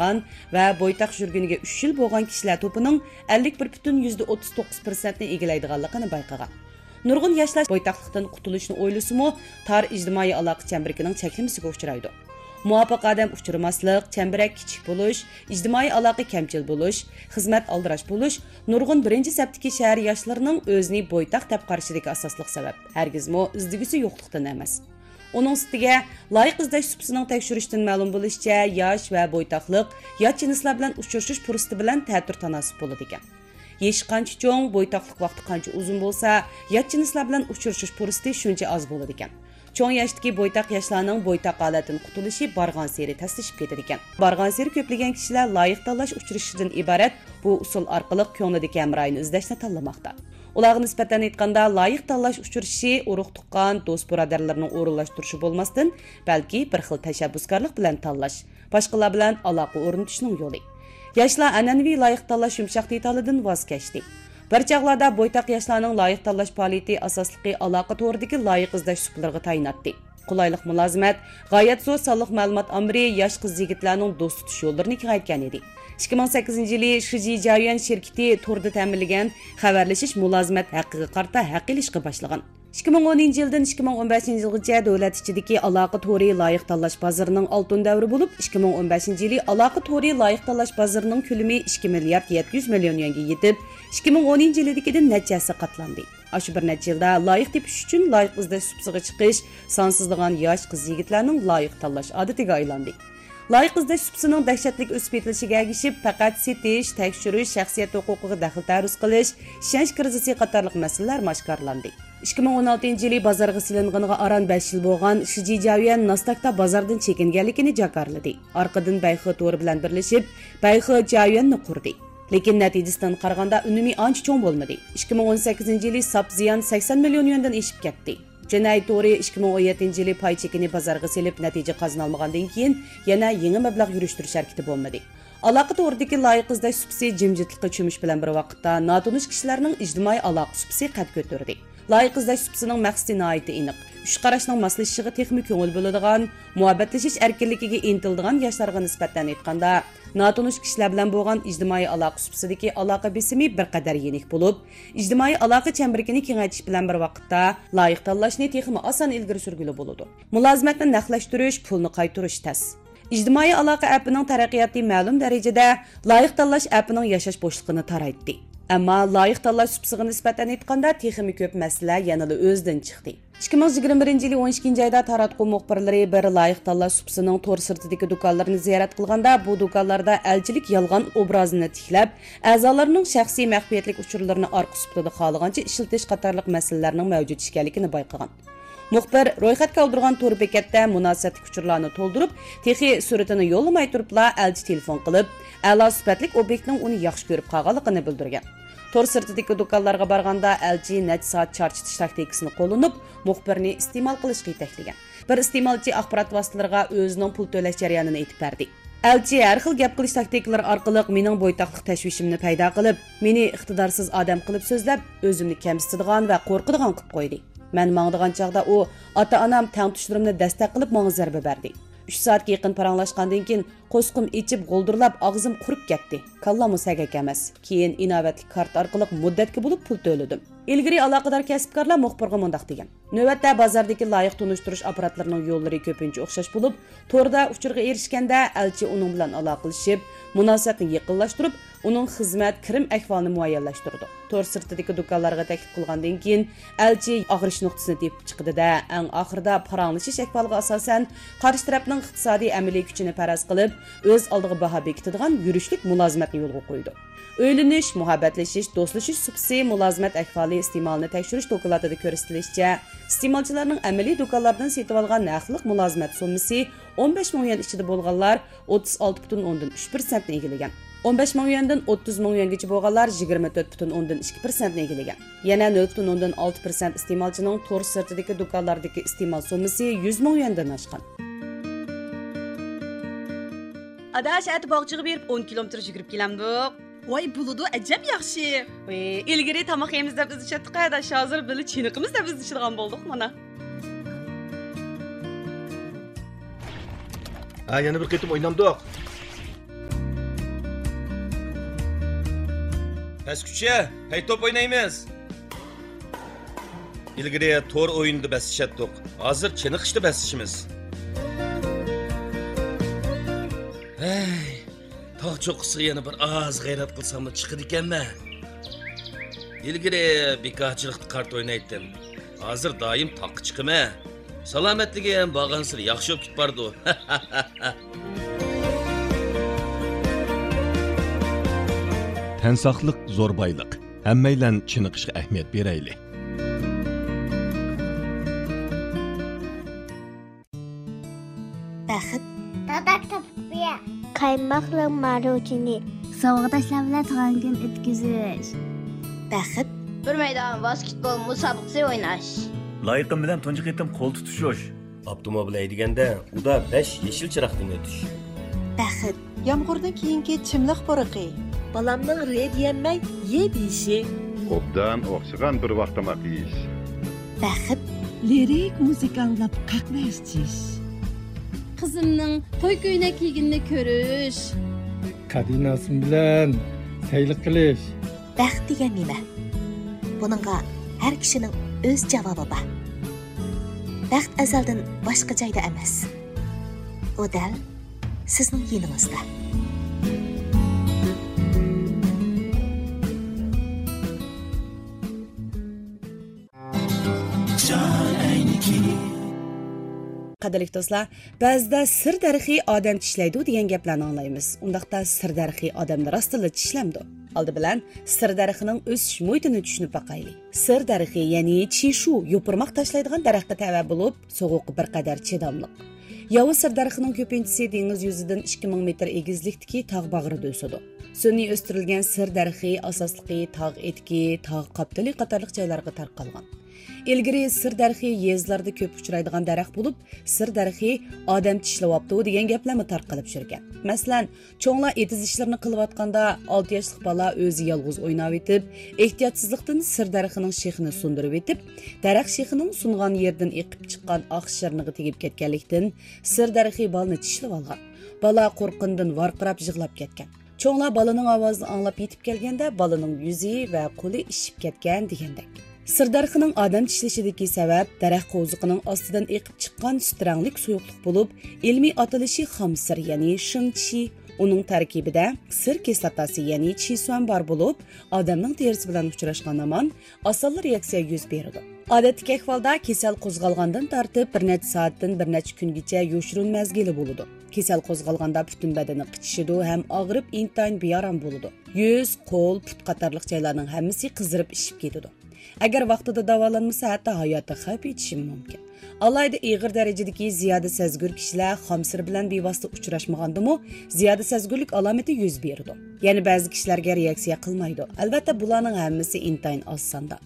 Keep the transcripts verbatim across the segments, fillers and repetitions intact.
قىلغان ۋە بويتاق يۈرگىنىگە ئۈچ يىل بولغان كىشىلەر توپىنىڭ ئەللىك بىر پۈتۈن يۈزدە ئوتتۇز توققۇز پىرسەنتنى ئىگىلەيدىغانلىقىنى بايقىغان. نۇرغۇن ياشلار بويتاقلىقتىن قۇتۇلۇشنى ئويلىسىمۇ، تار ئىجتىمائىي ئالاقە چەمبىرىكىنىڭ چەكلىمىسىگە ئۇچرايدۇ. مۇۋاپىق ئادەم ئۇچرىماسلىق، چەمبىرەك كىچىك بولۇش، ئىجتىمائىي ئالاقە كەمچىل بولۇش، خىزمەت ئالدىراش بولۇش نۇرغۇن بىرىنچى سەپتىكى شەھەر ياشلىرىنىڭ ئۆزىنى بويتاق دەپ قارىشىدىكى ئاساسلىق سەۋەب، ھەرگىزمۇ ئىزدىگۈسى يوقلۇقتىن ئەمەس. ئۇنىڭ ئۈستىگە، لايىق ئىزدەش سۇپىسىنىڭ تەكشۈرۈشىدىن مەلۇم بولۇشىچە، ياش ۋە بويتاقلىق يات جىنسلار بىلەن ئۇچرىشىش پۇرسىتى بىلەن تەتۈر تاناسىپ بولىدىكەن. يېشى قانچە چوڭ، بويتاقلىق ۋاقتى قانچە ئۇزۇن بولسا، يات جىنسلار بىلەن ئۇچرىشىش پۇرسىتى شۇنچە ئاز بولىدىكەن. چوڭ ياشتىكى بويتاق ياشلارنىڭ بويتاق ھالەتتىن قۇتۇلۇشى بارغانسېرى تەسلىشىپ كېتىدىكەن. بارغانسېرى كۆپلىگەن كىشىلەر لايىق تاللاش ئۇچرىشىشىدىن ئىبارەت بۇ ئۇسۇل ئارقىلىق كۆڭلىدىكى ھەمراھىنى ئىزدەشنى تاللىماقتا. ئۇلارغا نىسبەتەن ئېيتقاندا، لايىق تاللاش ئۇچرىشىشى ئۇرۇق-تۇغقان، دوست-بۇرادەرلەرنىڭ ئورۇنلاشتۇرۇشى بولماستىن، بەلكى بىر خىل تەشەببۇسكارلىق بىلەن تاللاش، باشقىلار بىلەن ئالاقە ئورنىتىشنىڭ يولى. ياشلار ئەنئەنىۋى لايىق تاللاش يۇمشاق دېتالىدىن ۋاز كەچتى. بىر چاغلاردا بويتاق ياشلارنىڭ لايىق تاللاش پائالىيىتى ئاساسلىقى ئالاقە تورىدىكى لايىق ئىزدەش سۇپىلىرىغا تايىناتتى. قولايلىق مۇلازىمەت، غايەت زور سانلىق مەلۇمات ئامبىرى ياش قىز-يىگىتلەرنىڭ دوست تۇتۇش يوللىرىنى كېڭەيتكەن ئىدى. ئىككى مىڭ سەككىزىنچى يىلى شىجى جيايۈەن شىركىتى توردا تەمىنلىگەن خەۋەرلىشىش مۇلازىمەت ھەققىگە قارىتا ھەق ئېلىشقا باشلىغان. ئىككى مىڭ ئونىنچى يىلدىن ئىككى مىڭ ئون بەشىنچى يىلغىچە دۆلەت ئىچىدىكى ئالاقە تورى لايىق تاللاش بازىرىنىڭ ئالتۇن دەۋرى بولۇپ، ئىككى مىڭ ئون بەشىنچى يىلى ئالاقە تورى لايىق تاللاش بازىرىنىڭ كۆلىمى ئىككى مىليارد يەتتە يۈز مىليون يۈەنگە يېتىپ، ئىككى مىڭ ئونىنچى يىلىدىكىدىن نەچچە ھەسسە قاتلاندى. ئاشۇ بىر نەچچە يىلدا لايىق تېپىش ئۈچۈن لايىق ئىزدەش سۇپىسىغا چىقىش، سانسىزلىغان ياش قىز-يىگىتلەرنىڭ لايىق تاللاش ئادىتىگە ئايلاندى. لايىق ئىزدەش سۇپىسىنىڭ دەھشەتلىك ئۆسۈپ يېتىلىشىگە ئەگىشىپ، پەقەت سېتىش، تەكشۈرۈش، شەخسىيەت ھوقۇقىغا دەخلى تەرۇز قىلىش، ئىشەنچ كىرىزىسى قاتارلىق مەسىلىلەرمۇ ئاشكارىلاندى. ئىككى مىڭ ئون ئالتىنچى يىلى بازارغا سېلىنغىنىغا ئاران بەش يىل بولغان شىجى جيايۈەن ناستاكتا بازاردىن چېكىنگەنلىكىنى جاكارلىدى. ئارقىدىن بەيخې تورى بىلەن بىرلىشىپ، بەيخې جيايۈەننى قۇردى. لېكىن نەتىجىسىدىن قارىغاندا ئۈنۈمى ئانچە چوڭ بولمىدى. ئىككى مىڭ ئون سەككىزىنچى يىلى ساپ زىيان سەكسەن مىليون يۈەندىن ئېشىپ كەتتى. جېنەي تورى ئىككى مىڭ ئون يەتتىنچى يىلى پاي چېكىنى بازارغا سېلىپ نەتىجە قازىنالمىغاندىن كېيىن يەنە يېڭى مەبلەغ يۈرۈشتۈرۈش ھەرىكىتى بولمىدى. ئالاقە تورىدىكى لايىق ئىزدەش سۇپىسى جىمجىتلىققا چۆمۈش بىلەن بىر ۋاقىتتا ناتونۇش كىشىلەرنىڭ ئىجتىمائىي ئالاقە سۇپىسى قەد كۆتۈردى. لايىق ئىزدەش سۇپىسىنىڭ مەقسىتى ناھايىتى ئېنىق. ئۈچ قاراشنىڭ ماسلىشىشىغا تېخىمۇ كۆڭۈل بۆلىدىغان، مۇھەببەتلىشىش ئەركىنلىكىگە ئىنتىلىدىغان ياشلارغا نىسبەتەن ئېيتقاندا، ناتونۇش كىشىلەر بىلەن بولغان ئىجتىمائىي ئالاقە سۇپىسىدىكى ئالاقە بېسىمى بىر قەدەر يېنىك بولۇپ، ئىجتىمائىي ئالاقە چەمبىرىكىنى كېڭەيتىش بىلەن بىر ۋاقىتتا، لايىق تاللاشنى تېخىمۇ ئاسان ئىلگىرى سۈرگىلى بولىدۇ. مۇلازىمەتنى نەقلەشتۈرۈش، پۇلنى قايتۇرۇش تەس. ئىجتىمائىي ئالاقە ئەپىنىڭ تەرەققىياتى مەلۇم دەرىجىدە لايىق تاللاش ئەپىنىڭ ياشاش بوشلۇقىنى تارايتتى. ئەمما لايىق تاللاش سۇپىسىغا نىسبەتەن ئېيتقاندا، تېخىمۇ كۆپ مەسىلە يەنىلا ئۆزىدىن چىقتى. ئىككى مىڭ يىگىرمە بىرىنچى يىلى ئون ئىككىنچى ئايدا تاراتقۇ مۇخبىرلىرى بىر لايىق تاللاش سۇپىسىنىڭ تور سىرتىدىكى دۇكانلىرىنى زىيارەت قىلغاندا، بۇ دۇكانلاردا ئەلچىلىك يالغان ئوبرازىنى تىكلەپ، ئەزالارنىڭ شەخسىي مەخپىيەتلىك ئۇچۇرلىرىنى ئارقا سۇپىدا خالىغانچە ئىشلىتىش قاتارلىق مەسىلىلەرنىڭ مەۋجۇت ئىكەنلىكىنى بايقىغان. مۇخبىر رويخەتكە ئالدۇرغان تور بېكەتتە مۇناسىۋەتلىك ئۇچۇرلارنى تولدۇرۇپ، تېخى سۈرىتىنى يوللىماي تۇرۇپلا ئەلچى تېلېفون قىلىپ، ئەلا سۈپەتلىك ئوبيېكتنىڭ ئۇنى ياخشى كۆرۈپ قالغانلىقىنى بىلدۈرگەن. تور سىرتىدىكى دۇكانلارغا بارغاندا، ئەلچى نەچچە سائەت چارچىتىش تاكتىكىسىنى قوللىنىپ، مۇخبىرنى ئىستېمال قىلىشقا يېتەكلىگەن. بىر ئىستېمالچى ئاخبارات ۋاسىتىلىرىغا ئۆزىنىڭ پۇل تۆلەش جەريانىنى ئېيتىپ بەردى. ئەلچى ھەر خىل گەپ قىلىش تاكتىكىلىرى ئارقىلىق مېنىڭ بويتاقلىق تەشۋىشىمنى پەيدا قىلىپ، مېنى ئىقتىدارسىز ئادەم قىلىپ سۆزلەپ، ئۆزۈمنى كەمسىتىدىغان ۋە قورقىدىغان قىلىپ قويدى. مەن ماڭىدىغان چاغدا ئۇ، ئاتا-ئانام، تەڭتۇشلىرىمنى دەستەك قىلىپ ماڭا زەربە بەردى. ئۈچ سائەتكە يېقىن پاراڭلاشقاندىن كېيىن، قوسىقىم ئېچىپ، غولدۇرلاپ، ئاغزىم قۇرۇپ كەتتى. كاللاممۇ سەگەك ئەمەس. كېيىن ئىناۋەتلىك كارتا ئارقىلىق مۇددەتكە بولۇپ پۇل تۆلىدىم. ئىلگىرى ئالاقىدار كەسىپكارلار مۇخبىرغا مۇنداق دېگەن: نۆۋەتتە بازاردىكى لايىق تونۇشتۇرۇش ئاپپاراتلىرىنىڭ يوللىرى كۆپىنچە ئوخشاش بولۇپ، توردا ئۇچۇرغا ئېرىشكەندە، ئەلچى ئۇنىڭ بىلەن ئالاقىلىشىپ، مۇناسىۋەتنى يېقىنلاشتۇرۇپ، ئۇنىڭ خىزمەت، كىرىم ئەھۋالىنى مۇئەييەنلەشتۈرىدۇ. تور سىرتىدىكى دۇكانلارغا تەكلىپ قىلغاندىن كېيىن، ئەلچى ئاغرىش نۇقتىسىنى تېپىپ چىقىدۇ-دە، ئەڭ ئاخىرىدا پاراڭلىشىش ئەھۋالىغا ئاساسەن، قارشى تەرەپنىڭ ئىقتىسادىي ئەمەلىي كۈچىنى پەرەز قىلىپ، ئۆز ئالدىغا باھا بېكىتىدىغان يۈرۈشلۈك مۇلازىمەتنى يولغا قويىدۇ. ئۆيلىنىش، مۇھەببەتلىشىش، دوستلىشىش سۇپىسى، مۇلازىمەت ئەھۋالى ئىستېمالنى تەكشۈرۈش دوكلاتىدا كۆرسىتىلىشىچە، ئىستېمالچىلارنىڭ ئەمەلىي دۇكانلاردىن سېتىۋالغان ھەقلىق مۇلازىمەت سوممىسى ئون بەش مىڭ يۈەن ئىچىدە بولغانلار ئوتتۇز ئالتە پۈتۈن ئوندىن ئۈچ پىرسەنتنى ئىگىلىگەن. ئون بەش مىڭ يۈەندىن ئوتتۇز مىڭ يۈەنگىچە بولغانلار يىگىرمە تۆت پۈتۈن ئوندىن ئىككى پىرسەنتنى ئىگىلىگەن. يەنە نۆل پۈتۈن ئوندىن ئالتە پىرسەنت ئىستېمالچىنىڭ تور سىرتىدىكى دۇكانلاردىكى ئىستېمال سوممىسى يۈز مىڭ يۈەندىن ئاشقان. ئاداش، ئەتە باغچىغا بېرىپ ئون كىلومېتىر يۈگۈرۈپ كېلەمدۇق؟ ۋاي، بولىدۇ، ئەجەب ياخشى. ۋىي، ئىلگىرى تاماق يەيمىز دەپ ئىزدىشەتتۇق، ئاداش، ھازىر بىللە چېنىقىمىز دەپ ئىزدىشىدىغان بولدۇق مانا. ھە، يەنە بىر قېتىم ئوينامدۇق؟ ئەسكۈچە، پەي توپ ئوينايمىز. ئىلگىرى تور ئويۇنىدا بەسلىشەتتۇق. ھازىر چېنىقىشتا بەسلىشىمىز. ھەي، تاغ چوققىسىغا يەنە بىر ئاز غەيرەت قىلساملا چىقىدىكەنمەن. ئىلگىرى بىكارچىلىقتا قارت ئوينايتتىم. ھازىر دائىم تاغقا چىقىمەن. سالامەتلىكىم بارغانسېرى ياخشى بولۇپ كېتىپ بارىدۇ. تەن ساقلىق زور بايلىق. ھەممەيلەن چېنىقىشقا ئەھمىيەت بېرەيلى. بەخت. داداك تاپقۇيە. قايماقلىق ماروژنى. ساۋاقداشلار بىلەن تۇغان كۈن ئۆتكۈزۈش. بەخت. بىر مەيدان ۋاسكېتبول مۇسابىقىسى ئويناش. لايىقىم بىلەن تۇنجى قېتىم قول تۇتۇشۇش. ئاپتوموبىل ھەيدىگەندە ئۇدا بەش يېشىل چىراغدىن ئۆتۈش. بەخت. يامغۇردىن كېيىنكى چىملىق پۇرىقى. بالامنىڭ رېت يېيەلمەي يەپ يېيىشى. ئوبدان ئوخشىغان بىر ۋاق تاماق يېيىش. بەخت. لىرىك مۇزىكا ئاڭلاپ قەھۋە ئىچىش. قىزىمنىڭ توي كۆينەك كىيگىنىنى كۆرۈش. كادىناسىم بىلەن سەيلە قىلىش. بەخت دېگەن نېمە؟ بۇنىڭغا ھەر كىشىنىڭ ئۆز جاۋابى بار. بەخت ئەزەلدىن باشقا جايدا ئەمەس. ئۇ دەل سىزنىڭ يېنىڭىزدا. قەدىرلىك دوستلار، بەزىدە سىر دەرىخى ئادەم چىشلەيدۇ دېگەن گەپلەرنى ئاڭلايمىز. ئۇنداقتا سىر دەرىخى ئادەمنى راستتىنلا چىشلەمدۇ؟ ئالدى بىلەن سىر دەرىخىنىڭ ئۆسۈش مۇھىتىنى چۈشىنىپ باقايلى. سىر دەرىخى، يەنى چىشۇ، يوپۇرماق تاشلايدىغان دەرەخكە تەۋە بولۇپ، سوغۇققا بىر قەدەر چىداملىق. ياۋا سىر دەرىخىنىڭ كۆپىنچىسى دېڭىز يۈزىدىن ئىككى مىڭ مېتىر ئېگىزلىكتىكى تاغ باغرىدا ئۆسىدۇ. سۈنئىي ئۆستۈرۈلگەن سىر دەرىخى ئاساسلىقى تاغ ئېتىكى، تاغ قاپتىلى قاتارلىق جايلارغا تارقالغان. ئىلگىرى سىر دەرىخى يېزىلاردا كۆپ ئۇچرايدىغان دەرەخ بولۇپ، سىر دەرىخى ئادەم چىشلىۋاپتۇ دېگەن گەپلەرمۇ تارقىلىپ يۈرگەن. مەسىلەن، چوڭلار ئېتىز ئىشلىرىنى قىلىۋاتقاندا، ئالتە ياشلىق بالا ئۆزى يالغۇز ئويناۋېتىپ، ئېھتىياتسىزلىقتىن سىر دەرىخىنىڭ شېخىنى سۇندۇرۇۋېتىپ، دەرەخ شېخىنىڭ سۇنغان يېرىدىن ئېقىپ چىققان ئاق شىرنىغا تېگىپ كەتكەنلىكتىن، سىر دەرىخى بالىنى چىشلىۋالغان. بالا قورققىنىدىن ۋارقىراپ يىغلاپ كەتكەن. چوڭلار بالىنىڭ ئاۋازىنى ئاڭلاپ يېتىپ كەلگەندە، بالىنىڭ يۈزى ۋە قولى ئىششىپ كەتكەن دېگەندەك. سىر دەرىخىنىڭ ئادەم چىشلىشىدىكى سەۋەب دەرەخ قوۋزىقىنىڭ ئاستىدىن ئېقىپ چىققان سۈت رەڭلىك سۇيۇقلۇق بولۇپ، ئىلمىي ئاتىلىشى خام سىر، يەنى شېڭ چى. ئۇنىڭ تەركىبىدە سىر كىسلاتاسى، يەنى چى سۈەن بار بولۇپ، ئادەمنىڭ تېرىسى بىلەن ئۇچراشقان ھامان ئاسانلا رېئاكسىيە يۈز بېرىدۇ. ئادەتتىكى ئەھۋالدا كېسەل قوزغالغاندىن تارتىپ بىر نەچچە سائەتتىن بىر نەچچە كۈنگىچە يوشۇرۇن مەزگىلى بولىدۇ. كېسەل قوزغالغاندا پۈتۈن بەدىنى قىچىشىدۇ ھەم ئاغرىپ ئىنتايىن بىئارام بولىدۇ. يۈز، قول، پۇت قاتارلىق جايلارنىڭ ھەممىسى قىزىرىپ ئىششىپ كېتىدۇ. ئەگەر ۋاقتىدا داۋالانمىسا، ھەتتا ھاياتىغا خەۋپ يېتىشىمۇ مۇمكىن. ئالاھىدە ئېغىر دەرىجىدىكى زىيادە سەزگۈر كىشىلەر خام سىر بىلەن بىۋاسىتە ئۇچراشمىغاندىمۇ، زىيادە سەزگۈرلۈك ئالامىتى يۈز بېرىدۇ. يەنە بەزى كىشىلەرگە رېئاكسىيە قىلمايدۇ. ئەلۋەتتە، بۇلارنىڭ ھەممىسى ئىنتايىن ئاز ساندا.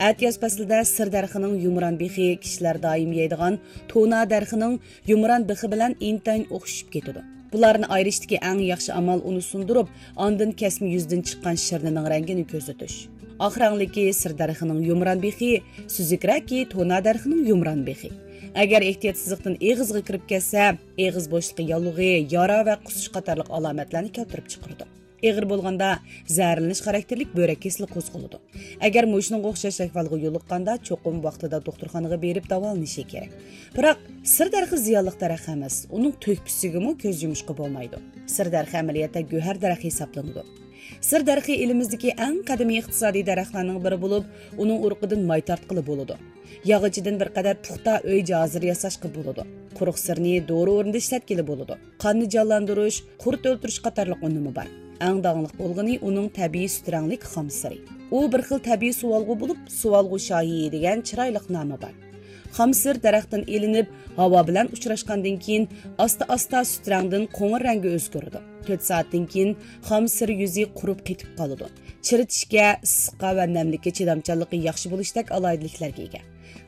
ئەتىياز پەسلىدە سىر دەرىخىنىڭ يۇمران بېخى كىشىلەر دائىم يەيدىغان تونا دەرىخىنىڭ يۇمران بېخى بىلەن ئىنتايىن ئوخشىشىپ كېتىدۇ. بۇلارنى ئايرىشتىكى ئەڭ ياخشى ئامال ئۇنى سۇندۇرۇپ، ئاندىن كەسمە يۈزىدىن چىققان شىرنىنىڭ رەڭگىنى كۆزىتىش. ئاق رەڭلىكى سىر دەرىخىنىڭ يۇمران بېخى، سۈزۈكرەكى تونا دەرىخىنىڭ يۇمران بېخى. ئەگەر ئېھتىياتسىزلىقتىن ئېغىزغا كىرىپ كەتسە، ئېغىز بوشلۇقى ياللۇغى، يارا ۋە قۇسۇش قاتارلىق ئالامەتلەرنى كەلتۈرۈپ چىقىرىدۇ. ئېغىر بولغاندا زەھەرلىنىش خاراكتېرلىك بۆرەك كېسىلى قوزغىلىدۇ. ئەگەر مۇشۇنىڭغا ئوخشاش ئەھۋالغا يولۇققاندا، چوقۇم ۋاقتىدا دوختۇرخانىغا بېرىپ داۋالىنىشى كېرەك. بىراق، سىر دەرىخى زىيانلىق دەرەخ ئەمەس، ئۇنىڭ تۆھپىسىگىمۇ كۆز يۇمۇشقا بولمايدۇ. سىر دەرىخى ئەمەلىيەتتە گۆھەر دەرەخ ھېسابلىنىدۇ. سىر دەرىخى ئېلىمىزدىكى ئەڭ قەدىمىي ئىقتىسادىي دەرەخلەرنىڭ بىرى بولۇپ، ئۇنىڭ ئۇرۇقىدىن ماي تارتقىلى بولىدۇ. ياغىچىدىن بىر قەدەر پۇختا ئۆي جاھازلىرى ياساشقا بولىدۇ. قۇرۇق سىرنى دورا ئورنىدا ئىشلەتكىلى بولىدۇ. قاننى جانلاندۇرۇش، قۇرت ئۆلتۈرۈش قاتارلىق ئۈنۈمى بار. ئەڭ داڭلىق بولغىنى ئۇنىڭ تەبىئىي سۈت رەڭلىك خام سىرى. ئۇ بىر خىل تەبىئىي سۇۋالغۇ بولۇپ، سۇۋالغۇ شاھى دېگەن چىرايلىق نامى بار. خام سىر دەرەختىن ئېلىنىپ، ھاۋا بىلەن ئۇچراشقاندىن كېيىن، ئاستا-ئاستا سۈت رەڭدىن قوڭۇر رەڭگە ئۆزگىرىدۇ. تۆت سائەتتىن كېيىن خام سىر يۈزى قۇرۇپ قېتىپ قالىدۇ. چىرىتىشكە، ئىسسىققا ۋە نەملىككە چىدامچانلىقى ياخشى بولۇشتەك ئالاھىدىلىكلەرگە ئىگە.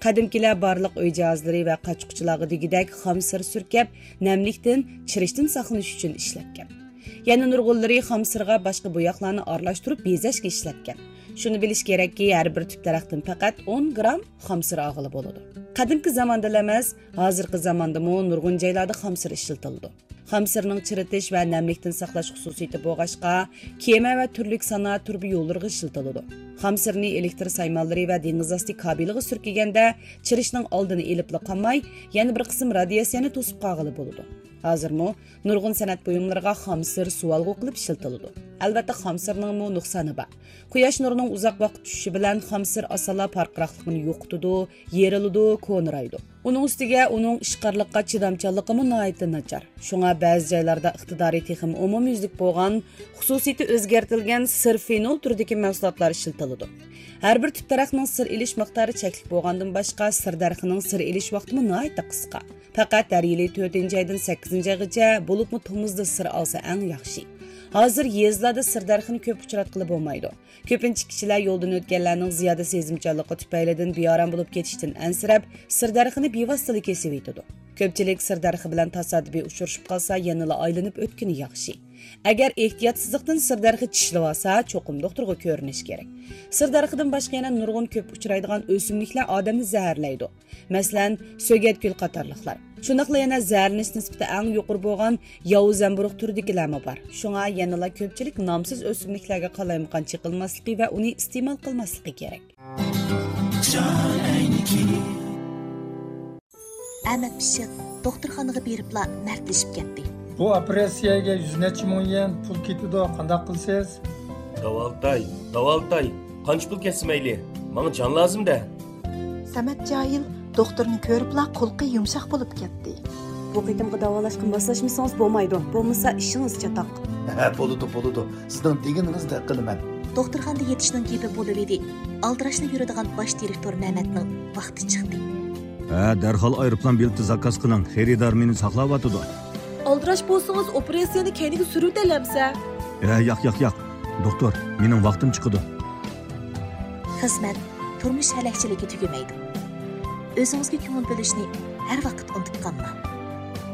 قەدىمكىلەر بارلىق ئۆي جاھازلىرى ۋە قاچا-قۇچىلارغا دېگۈدەك خام سىر سۈركەپ، نەملىكتىن، چىرىشتىن ساقلىنىش ئۈچۈن ئىشلەتكەن. يەنە نۇرغۇنلىرى خام سىرغا باشقا بوياقلارنى ئارىلاشتۇرۇپ بېزەشكە ئىشلەتكەن. شۇنى بىلىش كېرەككى، ھەر بىر تۈپ دەرەختىن پەقەت ئون گرام خام سىر ئالغىلى بولىدۇ. قەدىمكى زاماندىلا ئەمەس، ھازىرقى زاماندىمۇ نۇرغۇن جايلاردا خام سىر ئىشلىتىلىدۇ. خام سىرنىڭ چىرىتىش ۋە نەملىكتىن ساقلاش خۇسۇسىيىتى بولغاچقا، كېمە ۋە تۈرلۈك سانائەت تۇرۇبا يوللىرىغا ئىشلىتىلىدۇ. خام سىرنى ئېلېكتر سايمانلىرى ۋە دېڭىز ئاستى كابېلىغا سۈركىگەندە، چىرىشنىڭ ئالدىنى ئېلىپلا قالماي، يەنە بىر قىسىم رادىياتسىيەنى توسۇپ قالغىلى بولىدۇ. ھازىرمۇ نۇرغۇن سەنئەت بۇيۇملىرىغا خام سىر سۇۋالغۇ قىلىپ ئىشلىتىلىدۇ. ئەلۋەتتە، خام سىرنىڭمۇ نۇقسانى بار. قۇياش نۇرىنىڭ ئۇزاق ۋاقىت چۈشۈشى بىلەن خام سىر ئاسانلا پارقىراقلىقىنى يوقىتىدۇ، يېرىلىدۇ، كونىرايدۇ. ئۇنىڭ ئۈستىگە ئۇنىڭ ئىشقارلىققا چىدامچانلىقىمۇ ناھايىتى ناچار. شۇڭا بەزى جايلاردا ئىقتىدارى تېخىمۇ ئومۇميۈزلۈك بولغان، خۇسۇسىيىتى ئۆزگەرتىلگەن سىر فېنول تۈرىدىكى مەھسۇلاتلار ئىشلىتىلىدۇ. ھەر بىر تۈپ دەرەخنىڭ سىر ئېلىش مىقدارى چەكلىك بولغاندىن باشقا، سىر دەرىخىنىڭ سىر ئېلىش ۋاقتىمۇ ناھايىتى قىسقا. پەقەت ھەر يىلى تۆتىنچى ئايدىن سەككىزىنچى ئايغىچە، بولۇپمۇ تومۇزدا سىر ئالسا ئەڭ ياخشى. ھازىر يېزىلاردا سىر دەرىخىنى كۆپ ئۇچراتقىلى بولمايدۇ. كۆپىنچە كىشىلەر يولدىن ئۆتكەنلەرنىڭ زىيادە سېزىمچانلىقى تۈپەيلىدىن بىئارام بولۇپ كېتىشتىن ئەنسىرەپ، سىر دەرىخىنى بىۋاسىتىلا كېسىۋېتىدۇ. كۆپچىلىك سىر دەرىخى بىلەن تاسادىپىي ئۇچرىشىپ قالسا، يەنىلا ئايلىنىپ ئۆتكىنى ياخشى. ئەگەر ئېھتىياتسىزلىقتىن سىر دەرىخى چىشلىۋالسا، چوقۇم دوختۇرغا كۆرۈنۈش كېرەك. سىر دەرىخىدىن باشقا يەنە نۇرغۇن كۆپ ئۇچرايدىغان ئۆسۈملۈكلەر ئادەمنى زەھەرلەيدۇ. مەسىلەن، سۆگەتگۈل قاتارلىقلار. شۇنداقلا يەنە زەھەرلىنىش نىسبىتى ئەڭ يۇقىرى بولغان ياۋا زەمبۇرۇغ تۈرىدىكىلەرمۇ بار. شۇڭا يەنىلا كۆپچىلىك نامسىز ئۆسۈملۈكلەرگە قالايمىقان چېقىلماسلىقى ۋە ئۇنى ئىستېمال قىلماسلىقى كېرەك. ئەمەت پىششىق دوختۇرخانىغا بېرىپلا مەردلىشىپ كەتتى. بۇ ئوپېراتسىيەگە يۈز نەچچە مىڭ يۈەن پۇل كېتىدۇ، قانداق قىلىسىز؟ داۋالىتاي، داۋالىتاي، قانچە پۇل كەتسە مەيلى، ماڭا جان لازىم-دە. سەمەت جاھىل دوختۇرنى كۆرۈپلا قۇلىقى يۇمشاق بولۇپ كەتتى. بۇ قېتىمقى داۋالاشقا ماسلاشمىسىڭىز بولمايدۇ، بولمىسا ئىشىڭىز چاتاق. ھە، بولىدۇ، بولىدۇ، سىزنىڭ دېگىنىڭىزدەك قىلىمەن. دوختۇرخانىدا يېتىشنىڭ گېپى بولۇۋىدى. ئالدىراشلا يۈرىدىغان باش دىرېكتور مەمەتنىڭ ۋاقتى چىقتى. ھە، دەرھال ئايروپىلان بېلىتى زاكاز قىلىڭ، خېرىدار مېنى ساقلاۋاتىدۇ. ئالدىراش بولسىڭىز، ئوپېراتسىيەنى كەينىگە سۈرۈۋېتەلەمسە؟ ھە، ياق، ياق، ياق. دوختۇر، مېنىڭ ۋاقتىم چىقىدۇ. خىزمەت، تۇرمۇش ھەلەكچىلىكى تۈگىمەيدۇ. ئۆزىڭىزگە كۆڭۈل بۆلۈشنى ھەر ۋاقىت ئۇنتۇپ قالماڭ.